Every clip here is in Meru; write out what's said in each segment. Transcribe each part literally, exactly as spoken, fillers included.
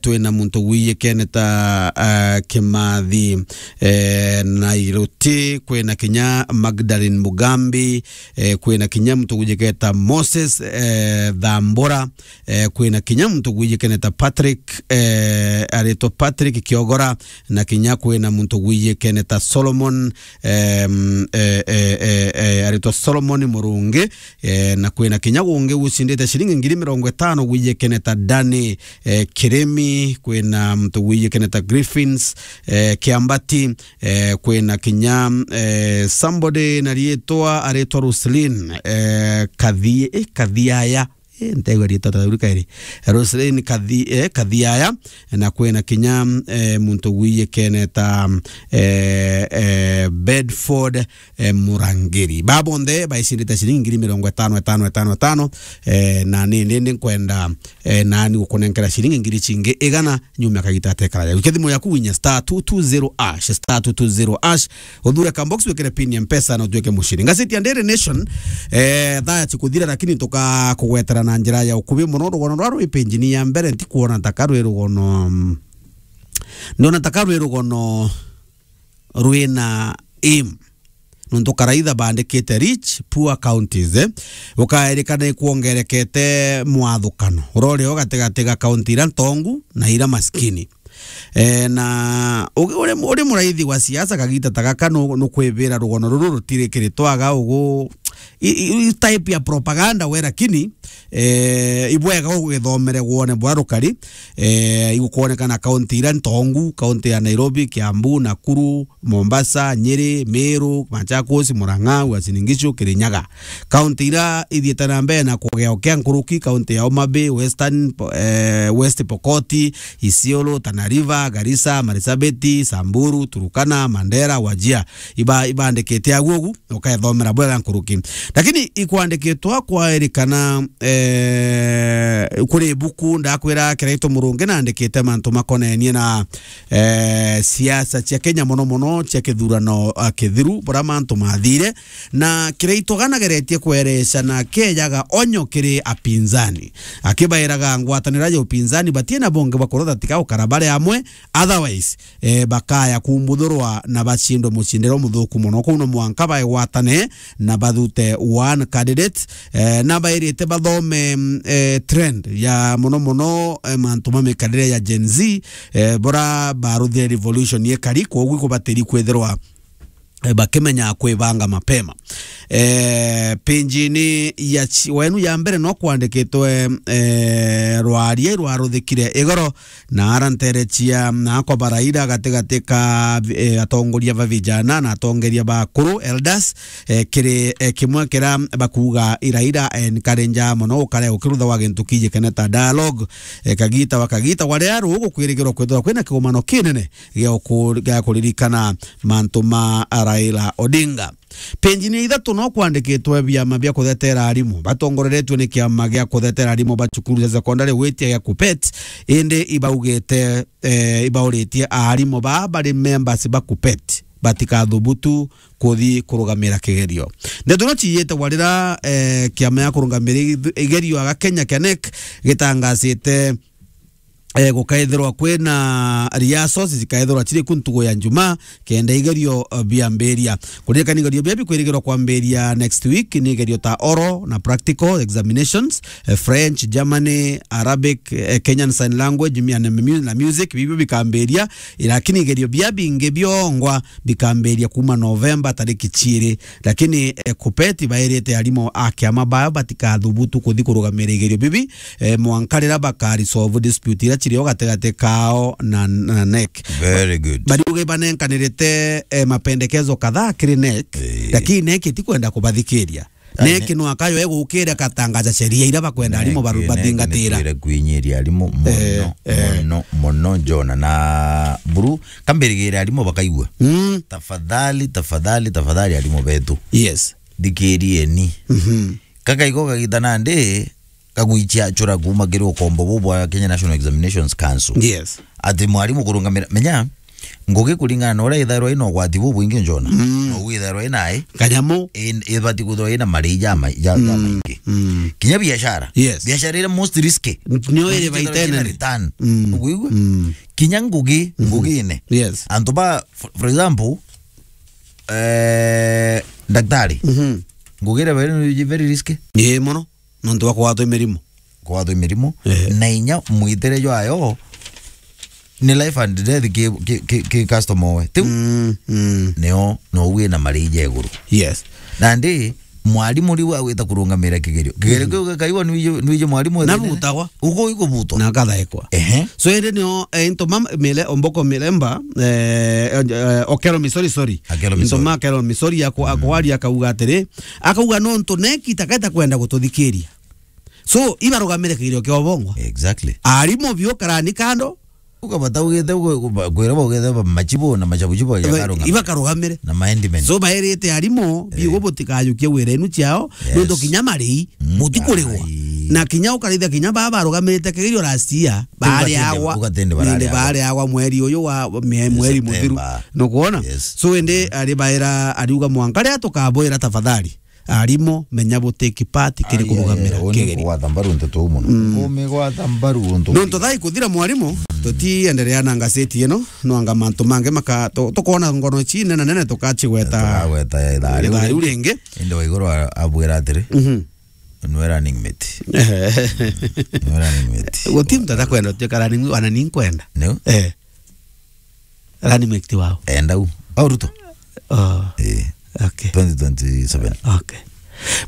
kwina muntu wijikene ta, eh, Kimathi, eh, Nairuti, kwina kinya Magdalene Mugambi, eh, kwina kinya muntu wijikene ta Moses, eh, Thambura, eh, kwina kinya muntu wijikene ta Patrick, eh, aritwa Patrick Kiogora, na kinya kwina muntu wijikene ta Solomon, em, eh, eh, eh, eh, aritwa Solomon Murungi, eh, na kwina kinya gungi ucindite ciringi ngiri mirongo itano wijikene ta Dani, eh, Kirimi, kwina muntu wijikene ta Griffins, eh, Kiambati, eh, kwina kinya, eh, somebody na riitwa aritwa Roslyn, eh, Kathi-, eh, Kathiaya, eh, ntegwa riitwa ta riu kairi. Roslyn Kathi-, eh, Kathiaya, na kwina kinya, eh, muntu wijikene ta, eh, eh, Bedford, eh, Murangiri. Ba bonthe baicindite ciringi ngiri mirongo itano, itano, itano, itano, eh, na ni, ni, ni nkwenda, eh, nani gukunenkera ciringi ngiri cingi igana nyuma ya kagita atekara. Jaku kethimo yaku winya star two two zero hash, star two two zero hash, uthure ka box, wikire pin ya Mpesa na utuike muciri. Ngazeti ya Daily Nation, eh, thaa cikuthira, lakini tukakugwetera na njira ya ukubi mono. Rugono rwa rwi page-ini ya mbere, ntikuona ta ka rwi rugono, mm, ndona ta ka rwi rugono rwina aim. Nontu karaitha bandikite rich, poor counties, eh, ukaerikana ikwongerekete mwathukano urori o gatigati ga kaunti iria ntongu na iria maskini. Eh, na ugi-, uri, uri muraithi wa siasa kagita ta gaka nu-, nukwibira rugono ruru rutiri kiri twaga ugu, i, i, i type ya propaganda we, lakini, eh, ibwega ugithomere wone bwa rukari, eh, igukwonekana kaunti iria ntongu, kaunti ya Nairobi, Kiambu, Nakuru, Mombasa, Nyeri, Meru, Machakos, Murang'a, Uasin Gishu, Kirinyaga. Kaunti iria ithiite na mbere na kugea ukia nkuruki, kaunti ya Homa Bay, Western, eh, West Pokot, Isiolo, Tana River, Garissa, Marsabit, Samburu, Turkana, Mandera, Wajir. Iba-, ibandikite agu ugu, ukethomera bwega nkuruki. Lakini ikwandikitwa kwairikana, eh, kuri ibuku ndakwira Kiraitu Murungi nandikite mantu makonenie na, eh, siasa cia Kenya, mono mono cia kithurano, ah, kithiru, bura mantu mathire, na Kiraitu ganageretie kwereca na kejaga onyo kiri apinzani, akibairaga ngwatanira ya upinzani batie na bonge bakurotha tiga ukara bari amwe, otherwise, eh, bakaya kumbuthurwa na bacindwe mucindiro muthuku mono. Kuu no mwanka baegwatane na bathute one candidate, eh, na bairite bathome, mm, eh, trend ya mono mono, eh, mantu ma mikarire ya Gen Z, eh, bora baruthire revolution yekari, koguo ikubatiri kwithirwa, eh, bakimenya kwibanga mapema. Eh, page-ini ya chi-, wenu ya mbere no kwandikitwe, eh, rwaria rwaruthikire igoro na ara nterechia na akwa baraira gatigati ka, eh, atongoria ba vijana na atongeria ba akuru, elders, eh, kiri, eh, kimwe kira bakuga iraira encourage mono gukare gukirutha wa gintu kijikene ta dialogue, eh, kagita wa kagita waria rugu kwirigirwa kwithirwa kwina kigomano kinene gia uku-, gia kuririkana mantu ma Raila Odinga. Page-ini ya ithatu no kwandikitwe biama bia kuthetera arimu batongoreretue ni kiama gia kuthetera arimu ba cukuru cia sekondari gwitia gia KUPPET, indi ibaugite, eh, ibauritie arimu baa bari members ba KUPPET batikathubutu kuthi kurugamira kigerio. Ndeto ino ciiyite warira, eh, kiama ya kurugamira ith-, igerio aga Kenya kia NEC gitangasite, eh, gukaithirwa kwina rehearsals, zikaithirwa ciri ku ntugu ya Njumaa, kenda igerio, eh, biambiria. Kuririkana igerio bia bikwirigirwa kwambiria next week ni igerio ta oral na practical examinations, eh, French, Germany, Arabic, eh, Kenyan Sign Language, mi-, and mu-, na music, bibio bikambiria, lakini igerio bia bingi biongwa bikambiria kuma November tariki ciiri. Lakini, eh, KUPPET bairite arimu a kiama bao batikathubutu kuthi kurugamira igerio bibi, eh, mwanka riria baka resolve dispute iria cirio gatigati kao na, na NEC. Very good. Bariuge banenkanirite, eh, mapendekezo kadhaa kiri NEC, eh, lakini NEC itikwenda kubathikiria. Ah, NEC ne- no akayo egukira gatangaza sheria iria bakwenda arimu baru-, NEC, NEC bathingatira. Nitwire kwinyiria arimu mono, eh, eh, mono, mono, Jona. Na buru, kambirigire arimu bakaigua. Mm. Tafadhali, tafadhali, tafadhali, arimu betu. Yes. Thikirieni. Mhm. Kakaiko kagita nandi, kagwichia chura kuma kiri ukombo bubu bwa Kenya National Examinations Council. Yes. Ati mwarimu kurungamira, menya, Ngugi kuringana na uria ithairwa ina ugwati bubwingi njona. Mm. No withairwa ina ai. Kanyamu. In-, ibati kwithirwa ina marii ja ma-, ja, ja Mm, maingi. Mm. Kinya biashara. Yes. Biashara iria most risky. N-, nio iri Ithirwa baita ina inene. Return. Mm. Uguigua? Mm. Kinya ngugi, Mhm. ngugine. Yes. Antu ba, for, for example, eh, daktari. Mhm. Ngugi iria very, very risky. Ii mono. Nontu bwa kugwatwa i mirimo. Kugwatwa i mirimo. Ehe. Na inya mwitire jwayo ni life and death ki, ki, ki, ki customer we. Tiu? Mm, mm. Nio, no wina marii ja iguru. Yes. Nandi, mwarimu riu agwita kurungamira kigerio. Kigerio Mhm. kiu gikaigwa nwiji, nwiji mwarimu wethirite? Nabutagwa. Ugo igubutwa. Na akathaikwa. Ehe. So, indi nio, eh, into mam-, mile, omboko milemba, eh, eh, Okelo Misori, sorry. Okelo Misori. Into ma Okelo Misori ako-, Mm. akwaria akauga atiri, akauga nontu neki taketa kwenda gututhikiria. So, ibarugamire kigerio kia ubongwa. Exactly. Arimu biu karani kando. Ukabata ugite, ugu-, ugu-, kwira baugite ba machibu na machabuchibu ya Iba-, karungama. Ibakarugamire. Na maendimen. So, bairite arimu, biu Eh. butikayukie wira enu ciao, Yes. nontu kinya marii, Mm. mutikurigwa. Ai. Na kinya ukarithia kinya baa barugamirite kigerio last year, Ugatindi, baariagwa, ugatindi nindi baariagwa. Baariagwa mweri uyu wa, mwe-, mweri muthiru. September. Nukwona? Yes. So, indi ari baira, ariuga mwanka ria tukabwira tafadhali. Arimu, menya bu take part kiri Ai, kurugamira ai, ai, kigerio. Uni kugwata mbaru nteto uu mono. Mm. Kumigwata mbaru untu Nontu thaa ikuthira mwarimu, tutienderea na ngaseti ino, no anga mantu mangi maka-, tu-, tukoona ngono ici nene nene tukacigweta Tukagweta ithaa riu ithaa riu ringi. Indi Waiguru a-, abwira atiri, Mhm. "Nwe running mate." Nwe running mate. Guti muntu atakwenda utuika running, wana ni nkwenda. Niu? Eh. Running mate wao. Enda u. Au Ruto? Oh. Eh. Okay. Twenty twenty-seven. Okay.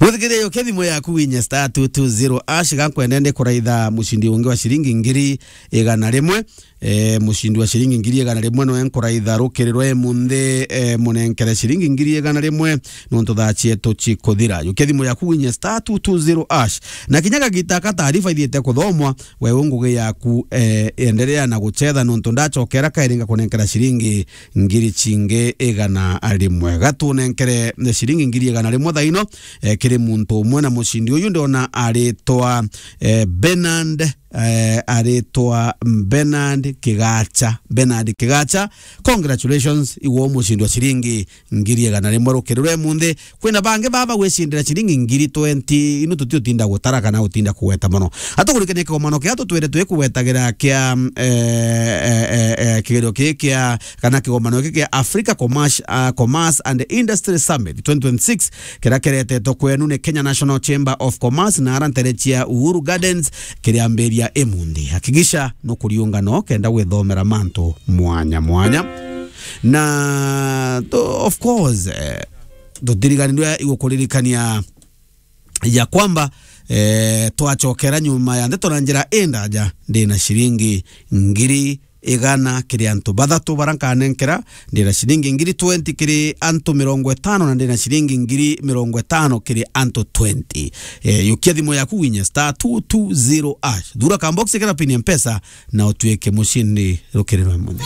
Mwithikiria, yukia thimu yaku winye star two two zero hash, gankwenda ndi kuraitha mucindi ungi wa ciringi ngiri igana rimwe. Eh, mucindi wa ciringi ngiri igana rimwe noe nkuraitha rukiri rwa imunthi, eh, munenkere ciringi ngiri igana rimwe, nontu thaa cietu cikuthira. Yukia thimu yaku winye star two two zero hash. Na kinya gagita ka taarifa ithiite kuthomwa, we u ngugi yaku, eh, enderea na gucetha, nontu ndacokera kairi ngakunenkera ciringi ngiri cingi igana rimwe. Gatunenkere ciringi ngiri igana rimwe thaa ino, eh, kiri muntu umwe, na mucindi uyu ndiona aritwa, eh, Bernard, eh, aritwa Bernard Kigacha. Bernard Kigacha, congratulations, iwe mucindi wa ciringi ngiri igana rimwe rukiri rwa imunthi. Kwina bangi baba gwicindira ciringi ngiri twenty, ino tutio tinda gutara kana utinda kugweta mono. Atukurikania kigomano kia tutwire twi kugwetagira kia, eh, eh, eh, eh, kigerio kii kia, kana kigomano giki kia Africa Commerce, ah, Commerce and Industry Summit twenty twenty-six, kiria kiretetwo kwenu ni Kenya National Chamber of Commerce na ara ntere cia Uhuru Gardens, kiriambiria imunthi. Hakikisha nukuriunga no kenda gwithomera mantu mwanya mwanya. Na, to-, of course, eh, tutirigani ndio igukuririkania ya kwamba, eh, twacokera nyuma ya ndeto na njira indaja, ndina ciringi ngiri igana kiri antu bathatu bara nkanenkera, ndina ciringi ngiri twenty kiri antu mirongo itano, na ndina ciringi ngiri mirongo itano kiri antu twenty. Eh, yukia thimu yaku winye star two two zero hash. Thura kambox kira pin ya Mpesa na utuike mucindi rukiri rwa munthi.